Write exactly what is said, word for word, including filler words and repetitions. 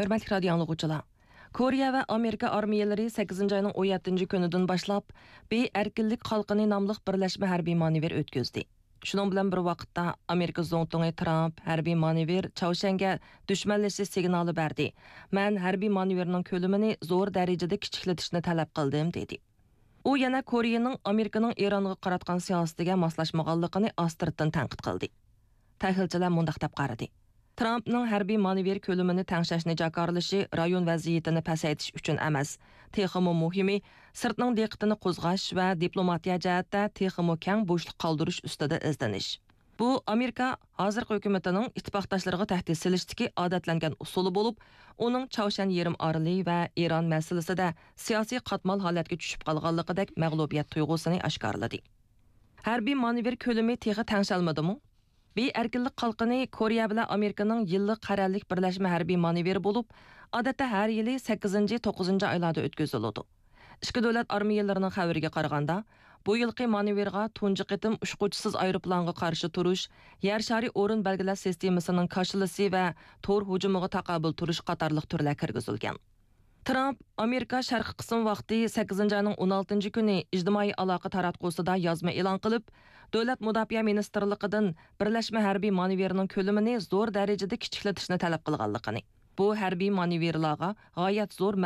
ھۆرمەتلىك رادىيو ئاڭلىغۇچىلار! كورېيە ۋە ئامېرىكا ئارمىيەلىرى سەككىزىنچى ئاينىڭ ئون يەتتىنچى كۈنىدىن باشلاپ، بى ئەركىنلىك قالقىنى ناملىق بىرلەشمە ھەربىي مانېۋىر ئۆتكۈزدى. شۇنىڭ بىلەن بىر ۋاقىتتا، ئامېرىكا زۇڭتۇڭى ترامپ ھەربىي مانېۋىر چاۋشيەنگە دۈشمەنلىشىش سىگنالى بەردى. مەن ھەربىي مانېۋىرنىڭ كۆلىمىنى زور دەرىجىدە كىچىكلىتىشنى تەلەپ قىلدىم، دېدى. ئۇ يەنە كورېيەنىڭ ئامېرىكىنىڭ ئىرانغا قاراتقان سىياسىتىگە ماسلاشمىغانلىقىنى ئاستىرتىن تەنقىد قىلدى. تەھلىلچىلەر مۇنداق دەپ قارىدى: ترامپنىڭ ھەربىي مانېۋىر كۆلىمىنى تەڭشەشنى جاكارلىشى رايون ۋەزىيىتىنى پەسەيتىش ئۈچۈن ئەمەس، تېخىمۇ مۇھىمى، سىرتنىڭ دىققىتىنى قوزغاش ۋە دىپلوماتىيە جەھەتتە تېخىمۇ كەڭ بوشلۇق قالدۇرۇش ئۈستىدە ئىزدىنىش. بۇ ئامېرىكا ھازىرقى ھۆكۈمىتىنىڭ ئىتتىپاقداشلىرىغا تەھدىت سېلىشتىكى ئادەتلەنگەن ئۇسۇلى بولۇپ، ئۇنىڭ چاۋشيەن يېرىم ئارىلى ۋە ئىران مەسىلىسىدە سىياسىي قاتمال ھالەتكە چۈشۈپ قالغانلىقىدەك مەغلۇبىيەت تۇيغۇسىنى ئاشكارىلىدى. ھەربىي مانېۋىر كۆلىمى تېخى تەڭشەلمىدىمۇ؟ بى ئەركىنلىك قالقىنى كورېيە بىلەن ئامېرىكىنىڭ يىللىق قەرەللىك بىرلەشمە ھەربىي مانېۋىرى بولۇپ، ئادەتتە ھەر يىلى سەككىزىنچى، توققۇزىنچى ئايلاردا ئۆتكۈزۈلىدۇ. ئىككى دۆلەت ئارمىيەلىرىنىڭ خەۋىرىگە قارىغاندا، بۇ يىلقى مانېۋىرغا تۇنجى قېتىم ئۇچقۇچىسىز ئايروپىلانغا قارشى تۇرۇش، يەر شارى ئورۇن بەلگىلەش سىستېمىسىنىڭ كاشىلىسى ۋە تور ھۇجۇمىغا تاقابىل تۇرۇش قاتارلىق تۈرلەر كىرگۈزۈلگەن. ترامپ ئامېرىكا شەرقىي قىسىم ۋاقتى سەككىزىنچى ئاينىڭ ئون ئالتىنچى كۈنى ئىجتىمائىي ئالاقە تاراتقۇسىدا يازما ئېلان قىلىپ، دۆلەت مۇداپىئە مىنىستىرلىقىدىن بىرلەشمە ھەربىي مانېۋىرنىڭ كۆلىمىنى زور دەرىجىدە كىچىكلىتىشنى تەلەپ قىلغانلىقىنى، بۇ ھەربىي مانېۋىرلارغا غايەت زور